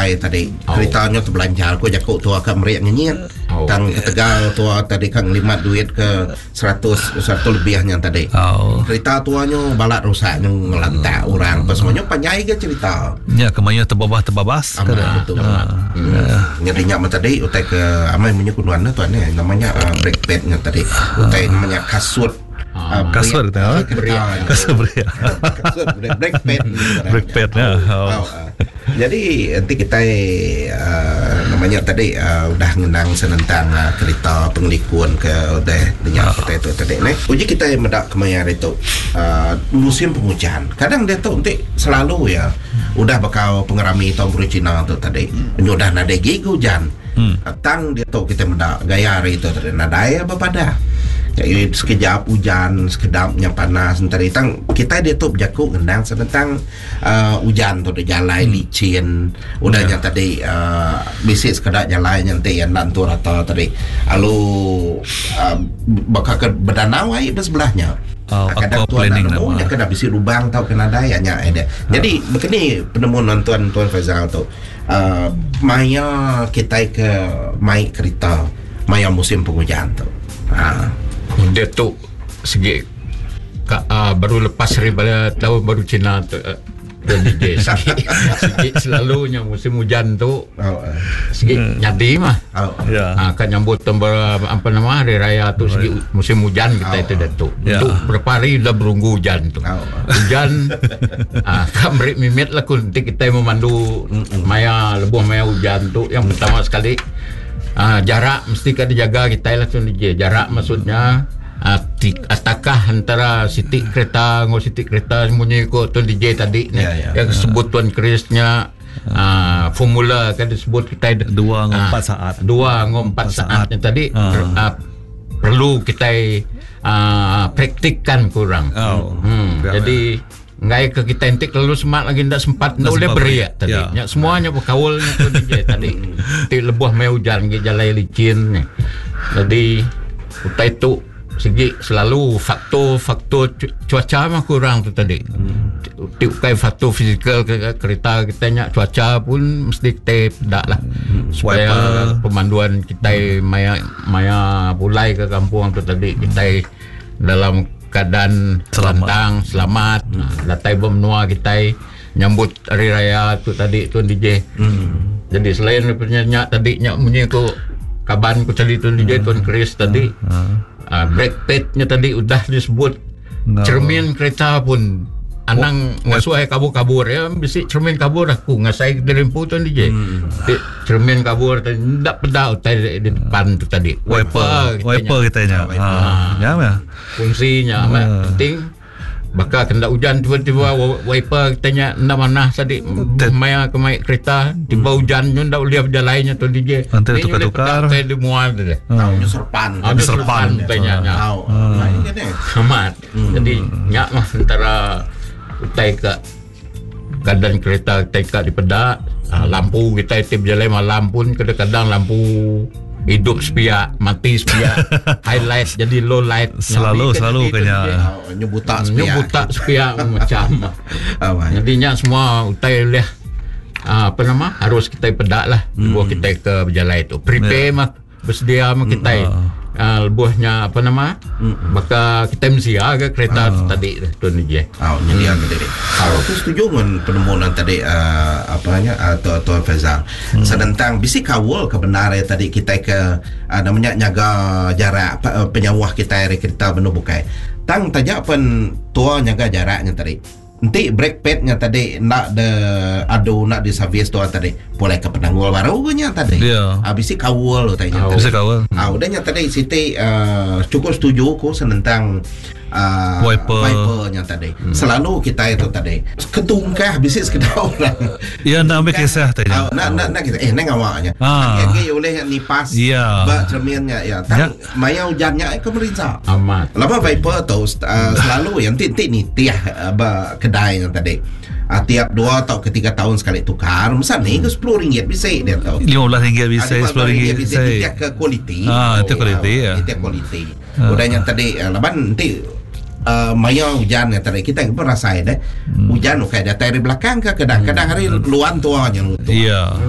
bukai tadi kerita nya tebelanjar ku jaku tua ka meri ngenyit tang ketegal tua tadi ka ngelimat duit ke 100 100 lebih nya tadi. Kerita tua nyu balat rusak nyu ngelantak orang apa semua nyu panjai ga cerita. Nya ke mayuh tebabah tebabas ke amat betul. Nyadi nya meh tadi utai ke amai munyi ku nuan tuan eh nama nya brake pad nya tadi utai nama nya kasut. Kasut kita. Kasut beria. Kasut beria brake pad. Brake pad nya. Oh. Jadi enti kitai nama nya tadi udah ngenang senentang kerita pengelikun ke udah dinya kitai tu tadi neh. Uji kitai meda kemaya hari tu musim pengujan. Kadang diatu enti selalu iya udah bekau pengerami Taun Baru Cina tu tadi nyudah nadai agi ga ujan. Tang diatu kitai meda gaya hari tu tadi nadai bepadah. Sekejap ujan sekedap nya panas enti hari tang kitai diatu bejaku ngenang senentang ujan tu jalai licin udah nya tadi bisi sekeda jalai nya enti enda entu rata tadi lalu baka ke bedanau ai ba sebelah nya. Kadang tuan enda nemu nya kena bisi lubang tauka nadai nya ai deh. Jadi baka ni penemu nuan tuan tuan Faizal tu maya kitai ke mai kerita maya musim pengujan tu. Ha. Diatu sigi ka baru lepas ari bala taun baru Cina tu DJ sigi sigi selalu nya musim ujan tu sigi nyadi mah. Ha ka nyambut apa nama hari raya tu sigi musim ujan kitai tu diatu. Tu berapa hari udah berunggu ujan tu. Ujan ha ka meri mimit lah ku enti kitai memandu maya lebuh maya ujan tu yang pertama sekali ha jarak mesti ka dijaga kitai lah tu DJ. Jarak maksudnya ha takah antara siti kereta enggau siti kereta munyi ku Tuan DJ tadi ne. Yang disebut Tuan Chris nya uh, formula kan disebut kitai dua enggau empat saat. Dua enggau empat saat nya tadi uh, perlu kitai uh, praktikkan kurang. Oh. Jadi enggai ke kitai enti kelalu semak lagi enda sempat enda ulih beri tadi. Ya. Nya semua nya bekaul nya tu DJ tadi. Ti lebuh maya ujan agi jalai licin nya. Jadi utai tu sigi selalu faktor-faktor cuaca mah kurang tu tadi. Ti ukai faktor fizikal ke kereta kita nya cuaca pun mesti kita peda lah. Supaya pemanduan kita maya maya pulai ke kampung tu tadi kita dalam keadaan lantang selamat datai ba menua kitai nyambut hari raya tu tadi Tuan DJ. Jadi selain daripada nya tadi nya munyi ku kaban ku tadi Tuan DJ Tuan Chris tadi aaa brake pad nya tadi udah disebut cermin kereta pun anang ngasuh ai kabur-kabur ya bisi cermin kabur aku ngasai diri empu Tuan DJ. Ti Cermin kabur tadi enda peda utai di depan tu tadi. Wiper, wiper kita nya. Ha. Nya meh. Fungsi nya amat ha. penting. Baka kena ujan tiba-tiba wiper kita nya enda manah tadi maya ke mai kereta tiba ujan nya enda ulih bejalai nya tu DJ. Nanti tukar-tukar. Utai di mua tu deh. Tau nya serpan. Ah, serpan utai nya. Tau. Amat. Jadi nya mah antara utai ke Keadaan kereta kitai ka dipeda uhh lampu kitai ti bejalai malam pun kadang kadang lampu idup sepiak mati sepiak highlight jadi low light selalu selalu ke nya nyu buta sepiak nyu buta sepiak macam jadi nya semua utai ulih uhh apa nama harus kitai peda lah lebuh kitai ke bejalai tu prepare mah. Besedia meh kitai uhh lebuh nya apa nama baka kitai mensia ga kereta tu tadi tu Tun Ijeh. Au nyedia ke diri. Au aku setuju ngan penemu nan tadi uhh apa nya uhh Tuan Tuan Faizal. Senentang bisi kaul ke bendar iya tadi kitai ke uhh nama nya nyaga jarak penyauh kitai ari kereta benung bukai. Tang taja pen tua nyaga jarak nya tadi. Enti brake pad nya tadi enda de adu enda di servis tuan tadi pulai ke penanggul baru ke nya tadi. Yeah. Ah bisi kaul utai nya tadi. Bisi kaul. Ah udah nya tadi siti uh, cukup setuju ku senentang uh, wiper. wiper nya tadi. Selalu kitai tu tadi ketungkah bisi sekeda orang. Ya enda ambil kisah tadi. Ah, nak nak nak kita eh nang awak nya. Ah. Agi ulih nipas yeah. ba cermin nya ya. Tang ya. Maya ujan nya ke merinsa. Amat. Laban Viper tu uh, selalu yang ti ti nitih uh, ba kedai nya tadi. Uh, tiap dua atau ke tiga tahun sekali tukar. Masa ni ke sepuluh ringgit bisi dia tu. RM15 bisi, RM10 bisi. Nitih ke kualiti. Ah, itu kualiti ya. Nitih kualiti. Udah nya tadi uh, laban enti uh, maya hujan nya tadi kita pun rasai deh. Hujan ukai datai dari belakang ke kadang-kadang hari luan tua nya. Iya.